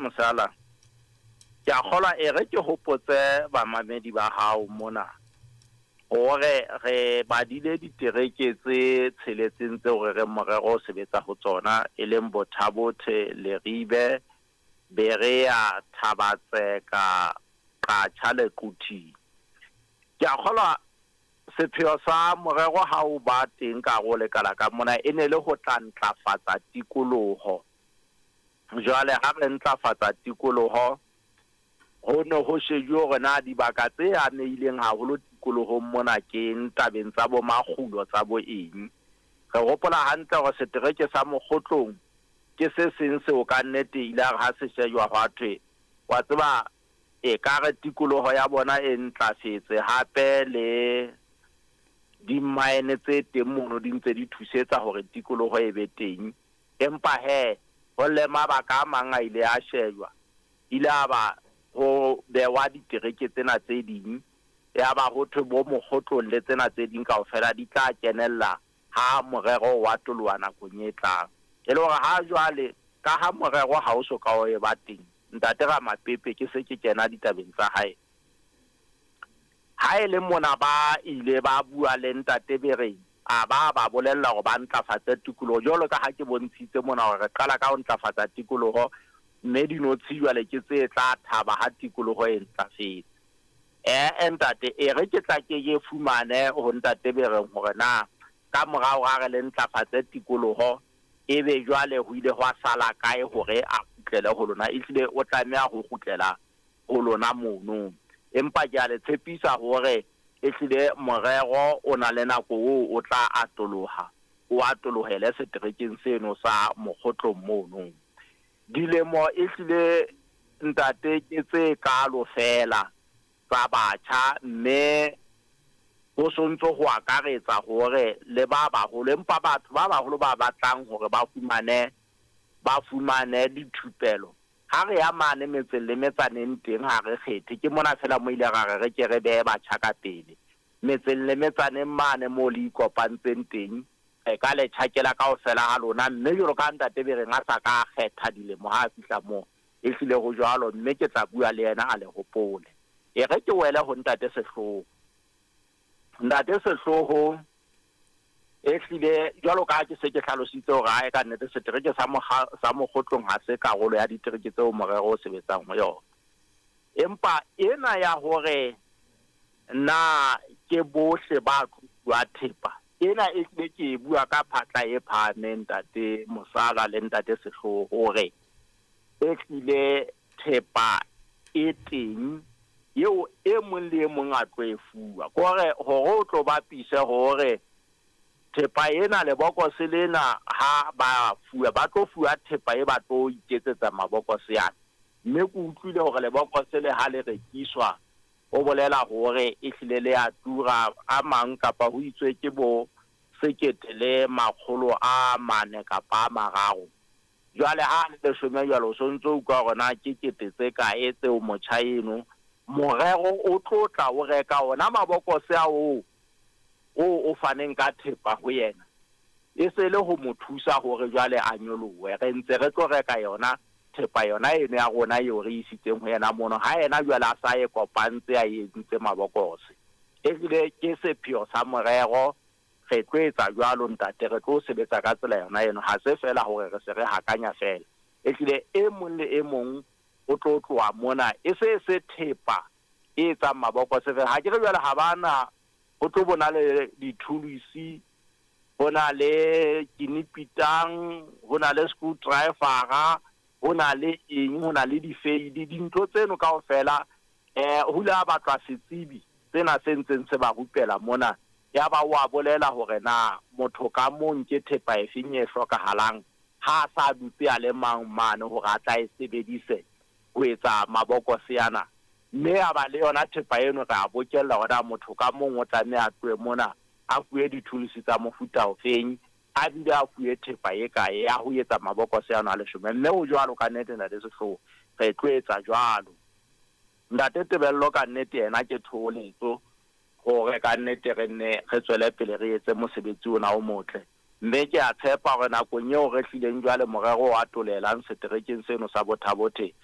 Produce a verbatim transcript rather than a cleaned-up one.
Mosala, ke a kgolwa e re ke hopotse bamamedi ba hao mona hore re badile ditereke tse tsheletseng tseo re reng morero o sebetsa ho tsona, e leng Botha-Bothe, Leribe, Berea, Thaba-Tseka, Qacha le Quthing. Ke a kgolwa sepheo sa morero ha o ba teng ka hare ho lekala ka mona e ne le ho tla ntlafatsa tikoloho. Jwale ha re ntlafatsa tikoloho, ho ne ho shejuwe hore na dibaka tse amehileng haholo tikolohong mona ke eng tabeng tsa bo makgulo tsa bo eng. Re hopola hantle hore setereke sa Mokgotlong ke se seng seo ka nnete ile ya re ha se shejwa hwa thwe, wa tseba ekare tikoloho ya bona e ntlafetse hape le di-mine tse teng mono di ntse di thusetsa hore tikoloho e be teng. Empa hee ho le mabaka a mang a ile a shejwa, ile a ba ho behwa ditereke tsena tse ding, ya ba ho thwe bo Mokgotlong le tsena tse ding kaofela di tla kenella ha morero wa toloha nakong e tlang. E le hore ha jwale ka ha morero ha o so ka o e ba teng, ntate Ramapepe ke se ke kena ditabeng tsa hae. Ha e le mona ba ile ba bua le ntate Bereng, a ba ba bolella hore ba ntlafatse tikoloho jwalo ka ha ke bontshitse mona hore re qala ka ho ntlafatsa tikoloho, mme dinotshi jwale ke tse tla thaba ha tikoloho e ntlafetse. Eh ntate, e re ke tla ke ke fumane ho ntate Bereng hore na ka morao ha re le ntlafatse tikoloho, ebe jwale ho ile hwa sala kae hore a kgutlele ho lona. Ehlile o tlameha ho kgutlela ho lona mono. Empa ke a le tshepisa hore ehlile morero o na le nako oo o tla atoloha, o atolohele seterekeng seno sa Mokgotlong mono. Dilemo ehlile ntate ke tse kalo fela tsa batjha, mme ho sontso ho akaretsa hore le ba baholo, empa batho ba baholo ba batlang hore ba fumane ba fumane dithupelo. Ha re ya mane metseng le metsaneng teng ha re kgethe, ke mona fela mo ile ra re re ke re behe batjha ka pele. Metseng le metsaneng mane moo le ikopantseng teng, re ka le tjhakela kaofela ha lona, mme jwalo ka ntate Bereng a sa ka kgetha dilemo ha a fihla moo, ehlile ho jwalo, mme ke tla bua le yena a le hopole. E re ke wele ho ntate Sehloho. Ntate Sehloho ehlile jwalo ka ha ke se ke hlalositse hore ae ka nnete setereke sa sa Mokgotlong ha se karolo ya ditereke tseo morero o sebetsang ho yona. Empa ena ya hore na ke bohle ba tlo thepa, ena ehlile ke e bua ka phatla e phahameng ntate Mosala le ntate Sehloho hore ehlile thepa e teng eo e mong le e mong a tlo e fuwa. Ke hore hore o tlo bapise hore thepa ena lebokose lena ha ba fuwa, ba tlo fuwa thepa e ba tlo iketsetsa mabokose ana. Mme ke utlwile hore lebokose le ha le rekiswa, ho bolela hore ehlile le a tura a mang kapa ho itswe ke bo sekete le makgolo a mane kapa a mararo. Jwale ha le leshome jwalo, o sontso utlwa hore na ke kete tse kae tseo motjha eno morero o tlo tla o reka ona mabokose ao o o faneng ka thepa ho yena, e se le ho mo thusa hore jwale a nyolohe. Re ntse re tlo reka yona thepa yona eno ya rona eo re isitseng ho yena mono, ha yena jwale a sa e kopantse a entse mabokose. Ehlile ke sepheo sa morero, re tlo etsa jwalo ntate, re tlo sebetsa ka tsela yona eno. Ha se fela hore re se re hakanya fela, ehlile e mong le e mong o tlo tloha mona e se se thepa e etsang mabokose fela. Ha ke re jwale ha bana ho tlo bona le dithulusi, ho na le kinipitang, ho na le screwdriver, ho na le eng, ho na le difeili, dintho tseno kaofela eh ho ile ha batlwa setsebi tsena se ntseng se ba rupela mona. Ya ba wa bolela hore na motho ka mong ke thepa e feng e hlokahalang ha a sa dutse a le mang mane hore a tla e sebedise ho etsa mabokose ana. Mme a ba le yona thepa eno re a bokella hore na motho ka mong o tlameha a tlohe mona a fuwe dithulusi tsa mofuta ofeng, a bile a fuwe thepa e kae ya ho etsa mabokose ano a leshome. Mme ho jwalo ka nnete ntate Sehloho, re tlo etsa jwalo. Ntate Tebello ka nnete yena ke thoholetso hore ka nnete re nne re tswele pele re etse mosebetsi ona o motle. Mme ke a tshepa hore nakong eo re hlileng jwale morero o atolelang seterekeng seno sa Botha-Bothe,